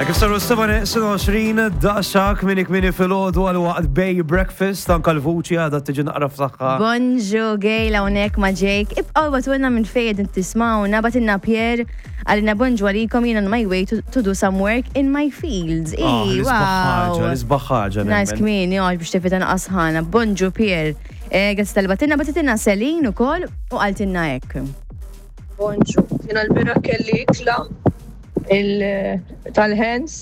Kif saru s-7 daqxa kmini kmini fil-ħodu għal waqt Bay Breakfast, anka l-vuċi għadha tiġi naqra f'saħħa. Bonġu Gail hawnhekk ma' Jake. Ibqgħu batulna minn fejn qegħdin tismawna, batilna Pierre għalina bonġu għalikom jien on my way to, to do some work in my fields. Ah, Ii, l-isbaħ ħaġa, wow. l-isbaħ ħaġa. Nice nemmen. kmini, għax biex tifita naqas ħana. Bonġu Pierre. Eh, Grazzi tal-batilna, batitilna Celine ukoll u qaltilna hekk. Bonġu, jiena l-bira kelli ikla tal-ħens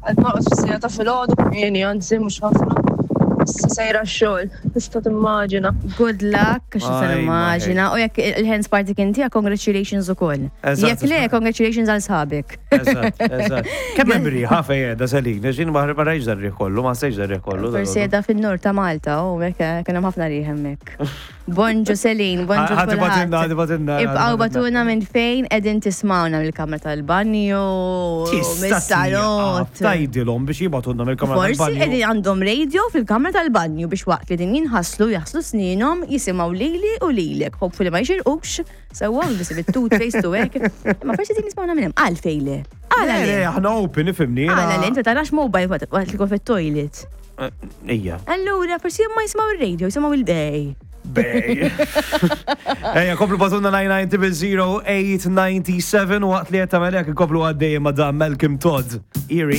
għal norqod fis-sija ta' filgħodu kmieni anzi mhux ħafna. Issa sejra x-xogħol, tista' timmaġina. Good luck, għax nista' Aj, nimmaġina. U jekk il-hands party kien tiegħek, congratulations ukoll. Eżatt, Jekk le, eżatt. congratulations għal sħabek. Eżatt, eżatt. Kemm hemm riħa fejn qiegħda Selin, ġin ma rajx dar-riħ kollu, ma sejx dar-riħ kollu. Forsi qiegħda fin-nord ta' Malta, u hekk kien hemm ħafna riħ hemmhekk. Bonġu Selin, bonġu Ħati batinna, ħati batinna. Ibqaw batuna minn fejn edin tismawna mill-kamra tal-banju, mis-salot. Tajdilhom biex jibatunna mill-kamra Forsi tal-banju. edin għandhom radio fil-kamra tal-banju biex waqt li din jinħaslu jaħslu sninhom jisimgħu lili u lilek. Hopefully ma jxirqux, sewwa biss bit-toothpaste u hekk. Ma forsi din jismawna minn hemm. Għalfejn le. Għala Le, le. le, aħna open, ifimni. Għala le, inti tarax mobile waqt li tkun fit-toilet. Ija. Allura, forsi ma jisimgħu ir-radio, jisimgħu il-bej. Bej. Ejja, komplu batunna 990 897 waqt li qed tagħmel hekk ikomplu għaddej ma' dan Malcolm Todd. Earring.